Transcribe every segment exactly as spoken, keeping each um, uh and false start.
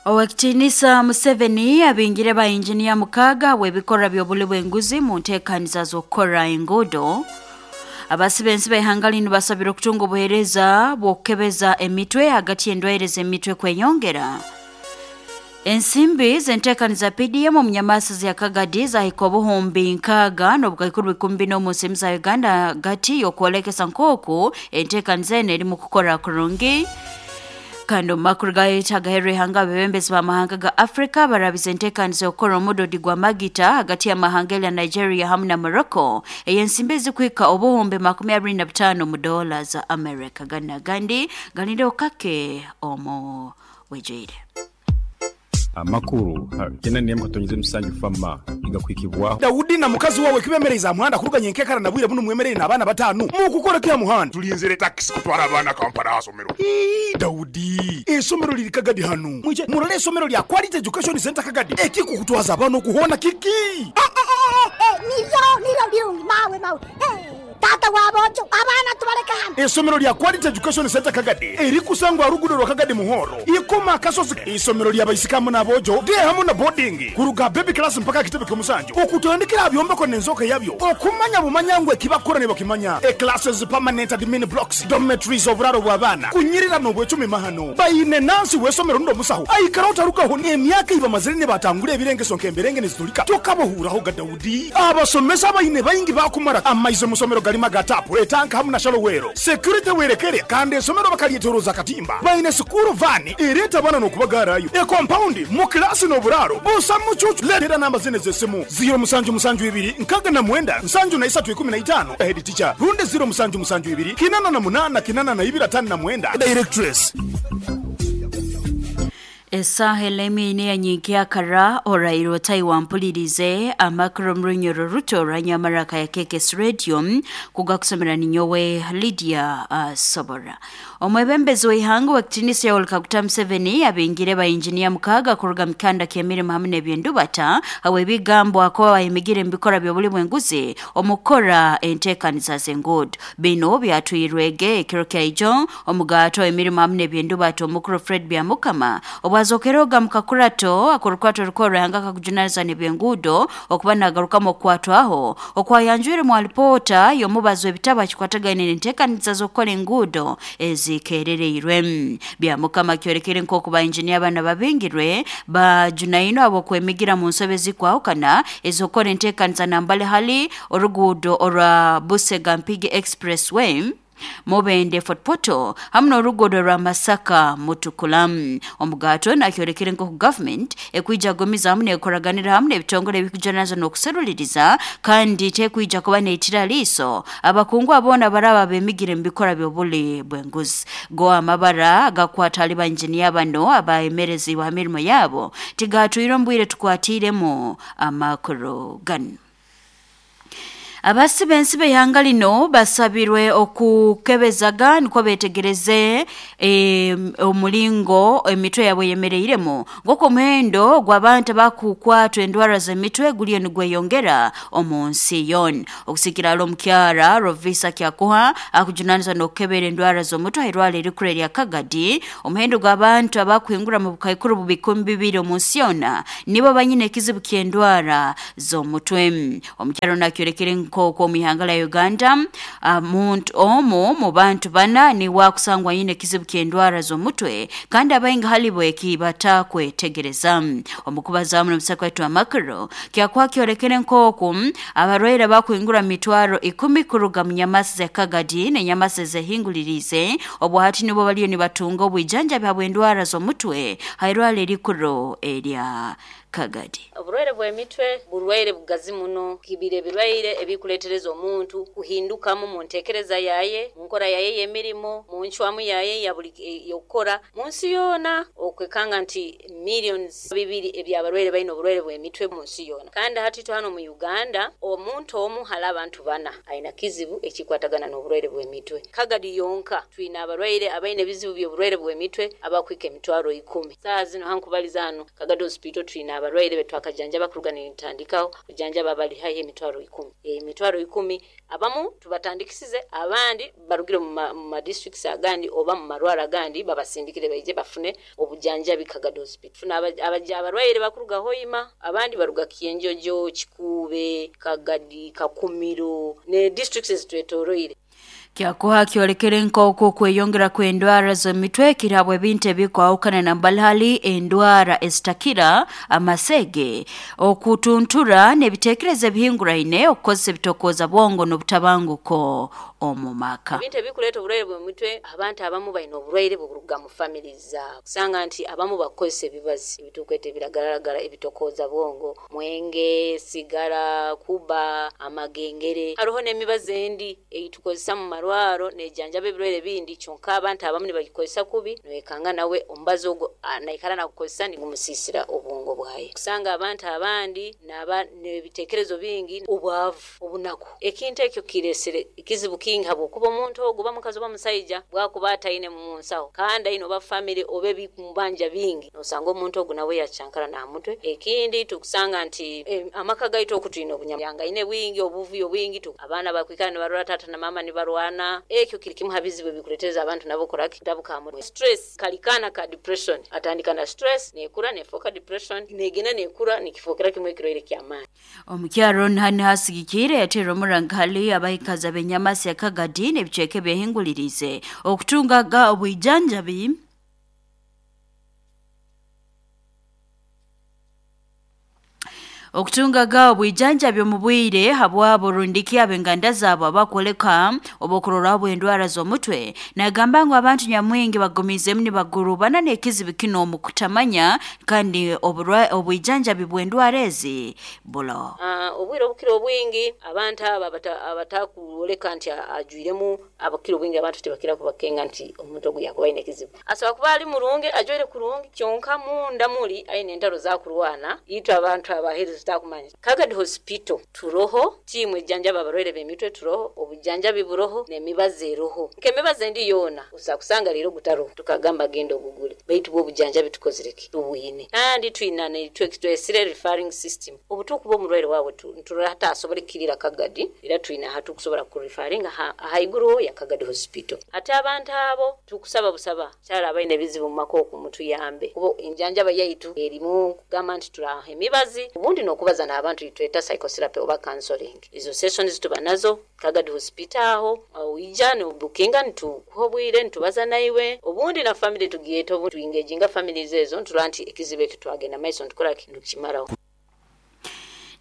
Owekitinisa Museveni abingire ba engineer mukaga webikora byobuli bw'enguzi mu nteekaniza z'okukora enguudo. Abasibensi b'ihanga lino basabire okutunga obuheereza bw'okukebeza emitwe hagati y'endwaire z'emitwe kweyongera. Ensimbi z'enteekaniza P D M omu nyamasi za Kagadi zahika obuhumbi nkaaga n'obukaikuru bikumi bina omu nsi za Uganda hagati y'okwolekesa nk'oku enteekaniza eno erimu kukora kurungi. Kandi omu makuru gaitu agaherwa ihanga, abebembezi b'amahanga ga Afrika barabize enteekaniza y'okukora omudodi gwa magita hagati y'amahanga erya Nigeria hamu na Morocco ey'ensimbi ezikuhika obuhumbi makumi abiri na butaano mu dola za America. Gana gandi galinde kake omu bwijwire. Amakuru kena niyemu katonyize musanju fama igakwikibwaho. Daudi na mukazi wawe kibemereza muhanda kuruganya enkekara na bwire buno mwemerere n'abaana batanu mukukora kya muhanda. Tulinzire taxi kutwara abaana Kampala asomero. Ii, Daudi, esomero liri Kagadi hano. Mwije murole esomero lya Quality Education Center Kagadi. Ekikukutwaza abaana okuhona kiki? Eh, eh, eh, eh, niryo niryo birungi mawe mawe. Eh, tata wabojo abaana tubaleka hano. Esomero lya Quality Education Center Kagadi erikusangwa rugudo rwa Kagadi Muhoro ikoma kasozi. Isomero lya baisikamu n'abojo de hamu na boarding kuruga baby class mpaka kitebe ky'omusanju okutandikira byombeko n'enzoka yabyo okumanya bumanyangwe kibakora ne bakimanya. E classes, permanent admin blocks, dormitories, oburaro bw'abaana kunyirira n'obwecumi mahano bayine nansi w'esomero ndo musaho aikara otarukaho n'emyaka iba mazire ne batangura ebirengeso nk'emberenge nezitulika tokabohuraho ga Daudi. Abasomesa bayine bayingi bakumara amaize musomero galima gatapu etanka hamu na shalowero security werekere kandi esomero bakalyeteroza katimba bayine sukuru vani ereta bana n'okubagarayo e compound mu klasi n'oburaro busa mucucu. Letera namba zine z'essimu zero musanju musanju ibiri nkaga na mwenda nsanju na isatu ikumi na itano head teacher runde zero musanju musanju ibiri kinana na munana kinana na ibiri atano na mwenda directress. Esaha elemi ya nyinkya orairo taiwampulirize amakuru mrunyoro ruto ranyamaraka ya K K S Radio kugakusomera ninyowe Lydia uh, Sobora. Omwebembezi w'ihanga w'ekitinisa Yoweri Kaguta Museveni abingire ba engineer mukaga kuruga mikanda ky'emirimu hamwe n'ebyendubata awe ebigambo akoba bayimigire mu bikora by'obuli bw'enguzi omukora enteekaniza z'enguudo. Bino byatwirwege ekiro kya ijo omugato emirimu hamwe n'ebyendubata omukuru Fred Byamukama obwazokeroga mukakurato akorukwato rukora hanga kakujunaniza n'ebyenguudo okuba nagarukamu okukwatwaho okwayanjwire mu alipota y'omubazo ebitabo akikwatagaine n'enteekaniza z'okukora enguudo ezikeerereirwe. Byamukama kyorekere nk'oku ba engineer bana babingirwe bajunaino abo kwemigira mu nsobe zikwahukana ez'okukora enteekaniza nambale hali oruguudo orwa Busega Mpigi Expressway Mubende Fort Portal hamu n'oruguudo rwa Masaka Mutukula. Omugato nakyorekere nk'oku government ekwija gomiza hamu n'ekoraganira hamu n'ebitongole ebikujanaza n'okuseruliriza kandi tekwija kuba neitira liiso abakungu abona baraba bemigire mu bikora by'obuli bw'enguzi. Go amabara agakwata ali ba engineer bano abaemerezi wa mirimo yabo tigatwire mbwire tukwatiremu amakuru gano. Abasibensi b'ihanga lino basabirwe okukebezaga niko betegereze e, omulingo emitwe yabwe yemereiremu ng'oku omuhendo gw'abantu bakukwatwa endwara z'emitwe guliyo nigweyongera omu nsi yona. Okusikira alo omukyara Rovisa Kyakuha akujunaniza n'okukebera endwara z'omutwe airwara erikuru erya Kagadi, omuhendo gw'abantu abakuhingura mu bukaikuru bubikumi bibiri omu nsi yona nibo banyine ekizibu ky'endwara z'omutwe. Omukyara ono akyorekere nk'oku omu ihanga lya Uganda omuntu omu mu bantu bana niwe akusangwa nyine ekizibu ky'endwara z'omutwe kandi abaingi halibo ekibatakwetegereza. Omukubaza hamu n'omusako waitu amakuru Kyakuha kyorekere nk'oku abarwaire bakuhingura mitwaro ikumi kuruga mu nyamasi za Kagadi n'enyamasi ezehingulirize obwo hati nibo baliyo nibatunga obwijanjabi habw'endwara z'omutwe hairwara erikuru erya Kagadi. Oburwaire bw'emitwe burwaire bugazi muno kibire ebirwaire ebikuleetereza omuntu kuhindukamu mu nteekereza yaye, mu nkora yaye y'emirimo, mu ncwamu yaye ya buli y'okukora mu nsi yoona okwekanga nti millions bibiri ebyabarwaire balina oburwaire bw'emitwe mu nsi yoona. Kandi hati hano mu Uganda omuntu omu hali abantu bana alina kizibu ekikwatagana n'oburwaire bw'emitwe. Kagadi yonka twina abarwaire abalina ebizibu by'oburwaire bw'emitwe abakwika emitwaro ikumi. Saaha zino hankubaliza hano Kagadi Hospital twina abarwaire betwakajanjaba kuruga nitandikaho kujanjaba bali haihi emitwaro ikumi. Emitwaro ikumi abamu tubatandikisize, abandi barugire mu ma districts agandi oba mu marwara agandi babasindikire baije bafune obujanjabi Kagadi Hospital. Tufuna abaja abarwaire bakuruga Hoima, abandi baruga Kienjojo, Kikube, Kagadi, Kakumiro ne districts ezitwetoroire. Kyakuha kyolekere nk'oku kweyongera kw'endwara z'emitwe kirabwe ebintu ebikwahukana na mbalhali endwara ezitakira amasege okutuntura n'ebiteekerezo ebihinguraine okukozesa ebitokooza bwongo n'obutabanguko omu maka. Ebintu ebikuleta obulwaire bw'emitwe, abantu abamu balina obulwaire buruga mu family zaabwe. Kusanga nti abamu bakozesa ebibazi ebitukweta ebiragaragara ebitokooza bwongo, mwenge, sigara, kuba, amagengere. Hariho n'emibazi endi eitukozesa mu marwaro nejanjaba ebirwaire bindi, kyonka abantu abamu nibagikozesa kubi, noyekanga nawe omubazi ogwo naikara nakukozesa nigumusisira obwongo bwaye. Kusanga abantu abandi naba n'ebiteekerezo bingi, obwavu, obunaku. Ekintu ekyo kiresere ekizibu kingi habwokuba omuntu ogwo oba mukazi oba musaija bwakuba ataine mu nsaho kandi aine oba family oba ebikumubanja bingi, nosanga omuntu ogwo nawe yacankara na mutwe. Ekindi tukusanga nti eh, amaka gaitu okutwine obunyamyangaine bwingi, obuvuyo bwingi, tu abaana bakwikara nibarora tata na mama nibarwana. Ekyo kiri kimu habizibu ebikuleteza abantu nabo koraki kutabuka mu stress, kalikana ka depression, atandika na stress nekura nefoka depression negena nekura nikifokera kimwe kirwaire ky'amaani. Omukyaro nhani hasigikire yatera omurangali abahikaza benyamasi ya Kagadi n'ebicweka byehingulirize okutungaga obwijanjabi okutungaga obwijanjabi omu bwire habwabo rundiki ab'enganda zaabo abakwoleka obukurora bw'endwara z'omutwe. Nagamba ngu abantu nyamwingi bagumizemu nibagurubana n'ekizibu kino omu kutamanya kandi obwijanjabi bw'endwara ezi bulo. Uh, obwire obukiro obwingi abantu aba abatakwoleka nti ajwiremu abakiro obwingi abantu tibakira kubakenga nti omuntu ogu yakuba aine ekizibu. Asobola kuba ali murungi, ajwaire kurungi, kyonka munda muli aine entaro zakurwana itwe abantu abaheereza tutakumanya. Kagadi Hospital turoho tiimu ejjanjaba abarwaire b'emitwe turoho, obujanjabi buroho n'emibazi eroho. Nk'emibazi endi yoona osa kusanga leero gutaroho tukagamba genda ogugule, baitu bwo obujanjabi tukozireki tubwine. Kandi twina netwesire referring system, obutukuba omurwaire wawe nturora hata asobole kukirira Kagadi, era twina hatukusobola kureferringa ahaiguru ya Kagadi Hospital. Ate abantu abo tukusaba busaba kyala abaine ebizibu mu maka oku mutuyambe, kuba enjanjaba yaitu erimu kugamba nti turaha emibazi ubundi nokubaza n'abantu itweta psychotherapy oba counseling. Izo sessions tuba nazo Kagadi Hospital aho ija nobukinga ntukuha obwire ntubaza naiwe, obundi na family tugieta obundi tuingeginga families ezo nturora nti ekizibu ekyo twagenda maiso ntukora ntukimaraho.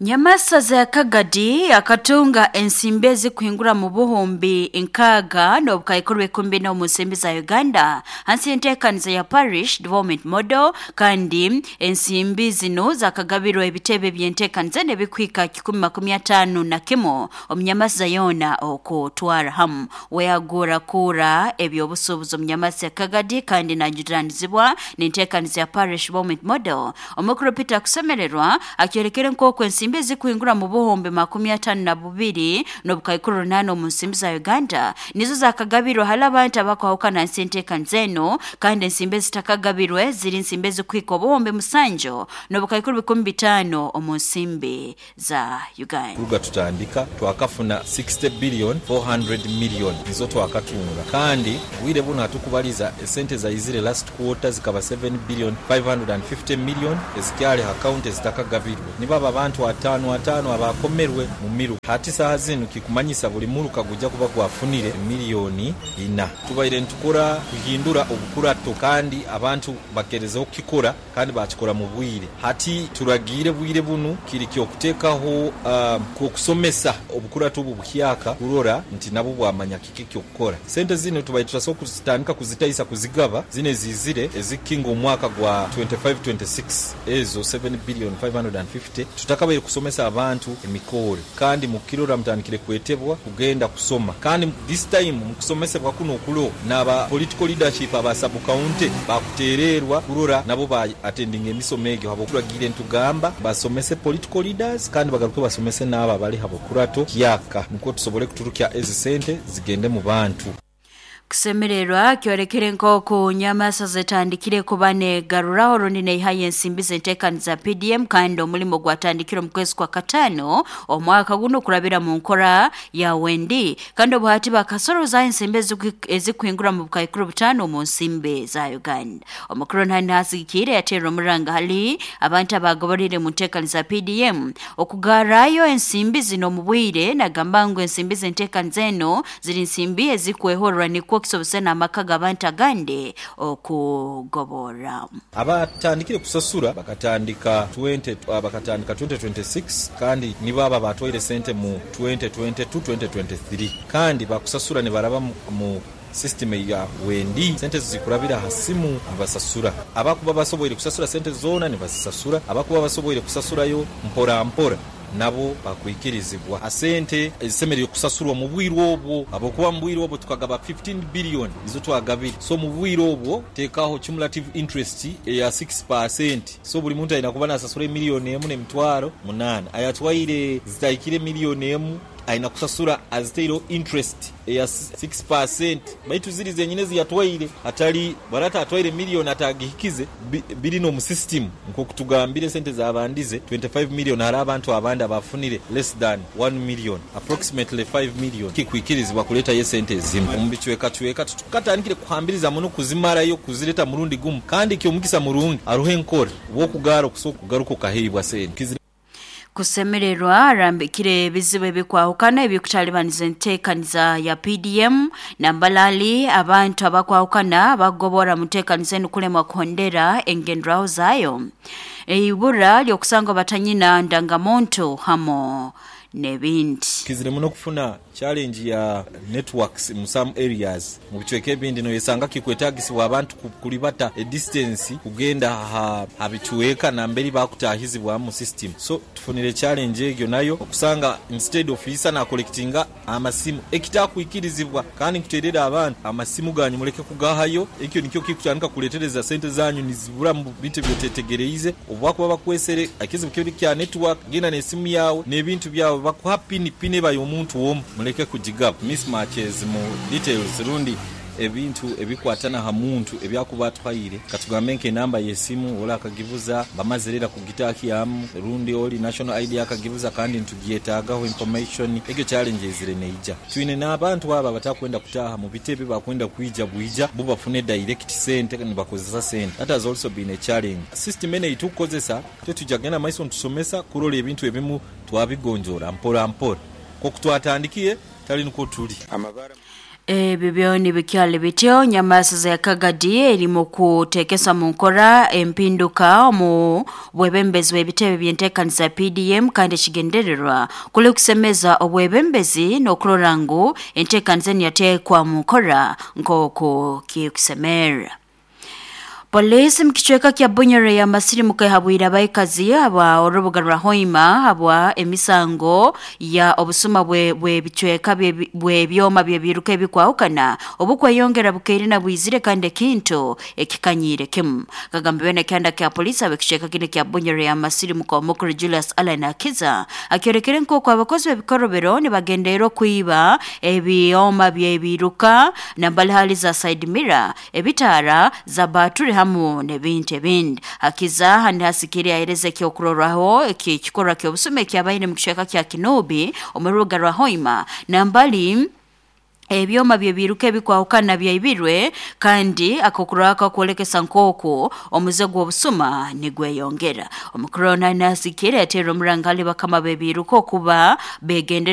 Nyamasaza ya Kagadi akatunga ensimbi ezikuhingura mu buhumbi nkaaga n'obukaikuru ekumbi n'omu nsimbi za Uganda hansi y'enteekaniza ya Parish Development Model, kandi ensimbi zino zakagabirwa ebitebe by'enteekaniza n'ebikwika kikumi makumi ataano na kimu omunyamasaza yoona okutwara hamu. Weyagura kura ebyobusuubuzi omunyamasa ya Kagadi kandi najuranizibwa n'enteekaniza ya Parish Development Model. Omukuru Peter Kusemererwa akyorekere nk'oku ensimbi ezikuhingura mu buhumbi makumi ataano na bubiri n'obukaikuru runana omu nsimbi za Uganda nizo zakagabirwa hali abantu abakwahukana nsi enteekaniza eno, kandi ensimbi ezitakagabirwe ziri nsimbi ezikuhika obuhumbi musanju n'obukaikuru bikumi bitaano omu nsimbi za Uganda. Kuruga tutandika twakafuna sixty billion four hundred million nizo twakatunga, kandi bwire buno hatukubaliza esente zaizire last quarter zikaba seven billion five hundred fifty million ezikyali account ezitakagabirwe nibaba abantu atano atano abakomerwe mu miru. Hati saha zinu kikumanyisa buli muruka gujja kuba gwafunire miliyoni ina. Tubaire ntukora kuhindura obukurato kandi abantu bakerezeho kukikora kandi bakikora mu bwire. Hati turagire bwire bunu kiri kyokutekaho um, kusomesa obukurato obu buhyaka kurora nti nabo bwamanya kiki kyokukora. Sente zino tubaire turasobola kuzitandika kuzitaisa kuzigaba zine zizire ezikinga omwaka gwa twenty-five twenty-six ezo seven billion five hundred fifty tutakabaire kusomesa abantu emikoro, kandi mukirora mutandikire kwetebwa kugenda kusoma, kandi this time mukusomesebwa kuno okulo n'aba political leadership aba sub county bakutererwa kurora nabo ba attending emisomo egyo habo kuragire ntugamba basomese political leaders kandi bagaruke basomese n'aba bali habo kurato kyaka nukwo tusobole kuturukya ezi sente zigende mu bantu. Kusemererwa kyorekere nk'oku nyamasa zitandikire kuba negaruraho rundi neihayo ensimbi z'enteekaniza P D M kandi omulimo gwatandikire omu kwezi kwa katano omwaka guno kurabira mu nkora ya Wendi kandi obuhati bakasoroza ensimbi ezikuhingura mu bukaikuru butano mu nsimbi za Uganda. Omukuru ntani hasigikire yateera omuranga hali abantu abagoborire mu nteekaniza P D M okugarayo ensimbi zino mu bwire nagamba ngu ensimbi z'enteekaniza eno ziri nsimbi ezikwehorwa nikwo kisobose n'amaka g'abantu agandi okugobora. Abatandikire kusasura bakatandika twenty bakatandika twenty twenty-six kandi nibo aba batwaire sente mu twenty twenty-two twenty twenty-three kandi bakusasura ne baraba mu, mu system ya Wendi sente zikurabira hasimu abasasura abakuba basoboire kusasura sente zona ne basasura abakuba basoboire kusasurayo mpora mpora nabo bakwikirizibwa asente ezisemereye kusasurwa mu bwiro obwo abokuba mu bwiro obwo tukagaba fifteen billion izo twagabira so mu bwiro obwo tekaho cumulative interest ya six percent so buli muntu alina kuba nasasura miliyoni emu n'emitwaro munana ayatwaire zitayikire miliyoni emu aina kusasura aziteiro interest ya six percent baitu ziri zenyine ziyatwaire atali barata atwaire miliyoni atagihikize biri no mu system nko kutugambire sente zabandize twenty-five million hari abantu abandi abafunire less than one million approximately five million kikwikirizibwa kuleta ye sente zimu omubichweka chweka tukatandikire kuhambiriza muno kuzimarayo kuzireta murundi gumu kandi kyo mukisa murungi aruhe nkore wo kugaro kusoka kugaruko kahibwa sente. Kusemererwa arambikire ebizibu ebikwahukana ebikutalibaniza enteekaniza ya P D M na mbalali abantu abakwahukana bagobora mu nteekaniza eno kulemwa kuhondera engendraho zayo eibura lyokusanga batanyina ndangamuntu hamo nebindi. Kizire muno kufuna challenge ya networks mu some areas mu bichweke ebindi no yesanga kikwetagisibwa abantu kulibata a distance kugenda ha habichweka na mberi bakutahizibwa mu system so tufunire challenge egyo nayo okusanga instead of isa na collectinga amasimu ekitakuikirizibwa kandi nkuterera abantu amasimu ganyu muleke kugahayo ekyo nikyo kikutandika kuletereza sente zanyu nizibura mu bintu byotetegereize obwakuba bakwesere akizibu kyo kya network genda nesimu yawe nebintu bya bakuha pini pini bayo omuntu womu muleke kujigaba mismatches mu details rundi ebintu ebikwatana ha muntu ebyakuba twayire katugambe nke namba yesimu ola akagivuza bamazerera kugitaki yamu rundi oli national I D akagivuza kandi ntugietagaho information ekyo challenges zire neija twine n'abantu aba batakwenda kutaha mu bitebe bakwenda kuija buija bo bafune direct sente ni bakozesa sente. That has also been a challenge. System ene itukozesa tetujagenda maiso ntusomesa kurola ebintu ebimu twabigonjora mpora mpora ko kutwatandikiye tali nko tuli amabara. Ebyo byoni bikyali bityo nyamasa ya Kagadi erimu kutekesa mu nkora empinduka mu bwebembezi bw'ebitebe by'enteekaniza P D M kandi kigendererwa kuli kusemeza obwebembezi n'okurora ngu enteekaniza yateekwa mu nkora nk'oku kikusemera. Polisi mkichweka kya Bunyore ya Masiri mukehabwira abaikazi aba orubuga rwa Hoima habwa emisango ya obusuma bwe bwe bichweka bwe byoma bye biruka ebikwahukana obukweyongera bukeire na bwizire kandi ekintu ekikanyire kimu kagambiwe na kyanda kya polisi abekichweka kine kya Bunyore ya Masiri muko mukuru Julius Allen Akiza akyorekere nk'uko abakozi b'ebikorobero nibagendera kuiba ebyoma bye biruka na mbali hali za side mirror ebitara za baturi hamu nebintu ebindi. Akiza handi hasikiri ahereze kyokurorwaho ekikorwa ky'obusume kyabaire mu kicweka kya Kinobi omurubuga rwa Hoima na mbali ebyoma bye biruka ebikwahukana byaibirwe kandi akokuraka kwolekesa nkoko omuze gw'obusuma nigweyongera. Omukuru nasikiri atera omurangali bakama bebiruka okuba begendera